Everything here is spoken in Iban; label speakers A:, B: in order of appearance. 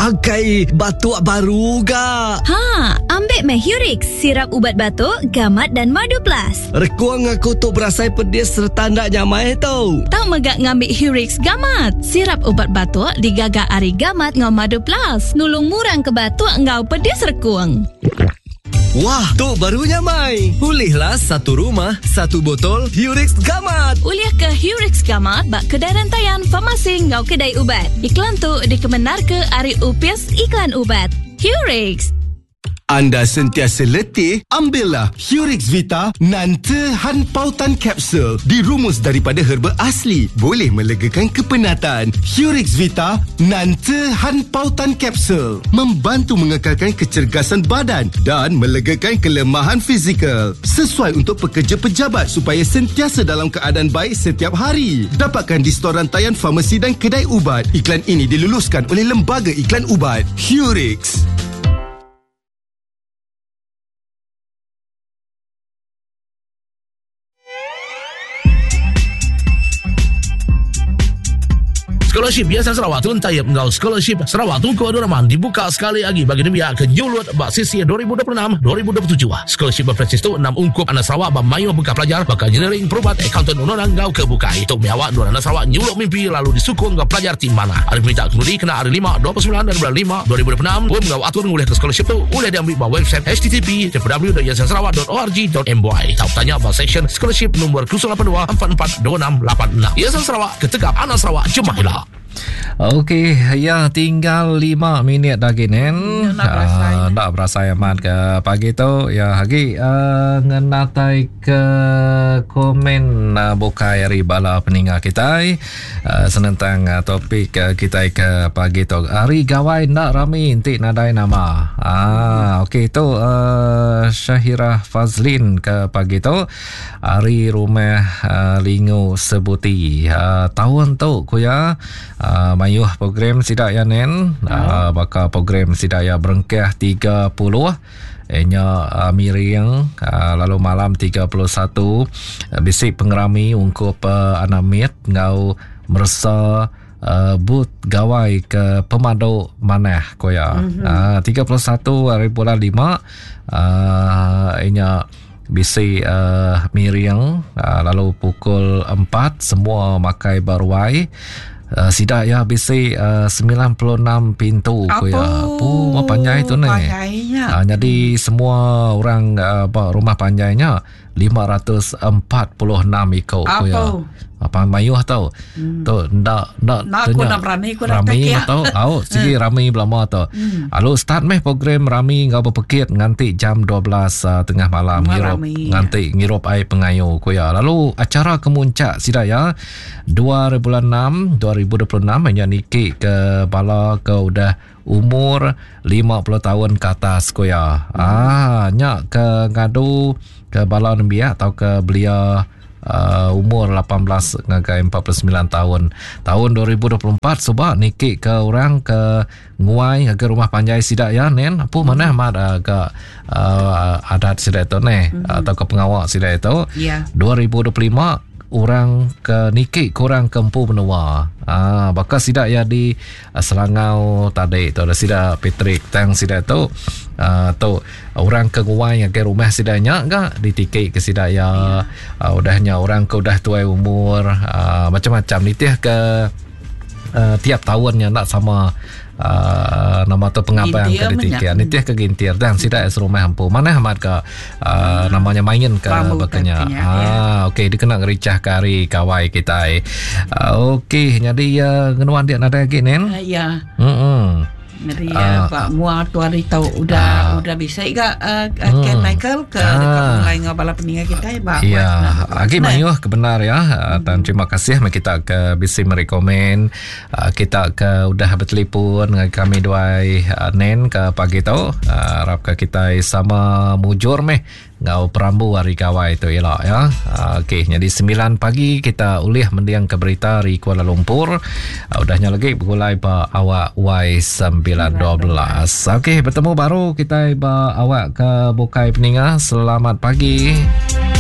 A: Akai batuk baru ga.
B: Ha, ambik meh Hurix, sirap ubat batuk, gamat dan madu plus.
A: Rekung aku tu berasai pedis sereta enda nyamai tu.
C: Tau mega ngambi Hurix Gamat, sirap ubat batuk digaga ari gamat enggau madu plus, nulung murang ke batuk enggau pedis rekung.
A: Wah, tu baru nyamai. Ulihlah satu rumah, satu botol Hurix Gamat.
C: Ulih ke Hurix Gamat ba kedai rentayan, farmasi enggau
B: kedai ubat.
C: Iklan tu dikemendarka ari Opis
B: Iklan Ubat.
C: Hurix.
D: Anda sentiasa letih? Ambillah Hurix Vita Nante Han Pautan Capsule. Dirumus daripada herba asli. Boleh melegakan kepenatan. Hurix Vita Nante Han Pautan Capsule. Membantu mengekalkan kecergasan badan dan melegakan kelemahan fizikal. Sesuai untuk pekerja pejabat supaya sentiasa dalam keadaan baik setiap hari. Dapatkan di stor rantaian farmasi dan kedai ubat. Iklan ini diluluskan oleh Lembaga Iklan Ubat. Hurix.
E: Scholarship Yayasan Sarawak Tun Taib enggau Scholarship Sarawak Tunku Abdul Rahman dibuka sekali agi bagi nembiak ke nyulut ba sesi 2026-2027. Scholarship berpresis tu enam ungkup anak Sarawak ba mayuh bengkah pelajar baka engineering, perubat, akauntan, undang-undang enggau ke bukai. Tu mih awak endur anak Sarawak nyuluk mimpi lalu disukung enggau pelajar ti manah. Hari peminta kepenudi kena hari 5, 29 dari bulan 5, 2026, pun enggau atur ngulihka scholarship tu ulih diambi ba website http www.yayasansarawak.org.my tau tanya ba seksyen scholarship nombor 082 44 26 86. Yayasan Sarawak ketegap anak Sarawak jemah ila.
F: Okey, ya tinggal 5 minit lagi nen.
G: Nak berasai.
F: Uh, nak berasai amat ke pagi tu. Ya, lagi uh, ngenatai ke komen uh, bukai hari bala peninga kita uh, senentang uh, topik uh, kita ke pagi tu. Hari gawai nak rami enti nadai nama. Ah, okey tu uh, Syahirah Fazlin ke pagi tu. Ari rumah uh, Lingu Sebuti. Uh, tahun tu ku ya uh, mayuh program sida ya nen uh, baka program sida ya berengkah 30 nya uh, miring uh, lalu malam 31 uh, bisi pengerami ungkup uh, anak mit enggau meresa uh, but gawai ke pemadu manah ku ya. Mm-hmm. Uh, 31 hari bulan 5 uh, nya Bisi uh, miring uh, lalu pukul 4 semua makai baruai. Uh, sida ya bisi uh, 96 pintu ku ya. Pu mah panjai tu ni. Uh, jadi semua orang uh, ba rumah panjainya 546 iko ku ya. Apa mayuh tau. Hmm. Tu ndak ndak
G: Nak aku nak berani aku nak
F: rami tau. Au sigi hmm. rami belama tu. Hmm. Lalu start meh program rami enggau bepekit nganti jam 12 uh, ah, tengah malam ngirup nganti ngirup ai pengayu ku ya. Lalu acara kemuncak sida ya 2 bulan 6 2026 hanya niki ke bala ke udah umur 50 tahun ke atas ku ya. Hmm. Ah nya ke ngadu ke bala nembiak atau ke belia uh, umur 18 ngagai 49 tahun. Tahun 2024 suba niki ke orang ke nguai ngagai rumah panjai sida ya nen. Apu manah amat uh, ke uh, adat sida tu neh mm-hmm. atau ke pengawa sida itu.
G: Yeah.
F: 2025 orang ke niki kurang ke empu menua. Ah, baka sida ya di Selangau tadi tu ada sida Patrick tang sida tu uh, tu orang ke nguai ngagai rumah sida nya ga ditiki ke sida ya uh, udah nya orang ke udah tuai umur uh, macam-macam nitih ke uh, tiap tahun nya enda sama uh, nama tu pengabang ke ditiki nitih ke gintir dan sida serumah empu manah amat ke uh, namanya main ke bakanya. Ah, ya. okey dikena ngericah ke hari kawai kitai. Uh, okey jadi uh, ngenuan dia nadai agi nen.
G: Uh, ya. Hmm. Jadi uh, uh, mua tu hari tau udah uh, udah bisa ga uh, hmm. Ken Michael ke uh, dekat mulai ngau bala peninga kita ba.
F: Ya, agi mayuh kebenar ya. Hmm. Dan terima kasih kita ke bisi meri komen Kita ke udah betelipun ngagai kami duai Nen ke pagi tu. Arap ke kitai sama mujur meh enggau perambu hari gawai tu ila ya. Okey, nyadi 9 pagi kita ulih mending ke berita ari Kuala Lumpur. Udah nya lagi begulai ba awak Y912. Okey, betemu baru kitai ba awak ke bukai peninga. Selamat pagi.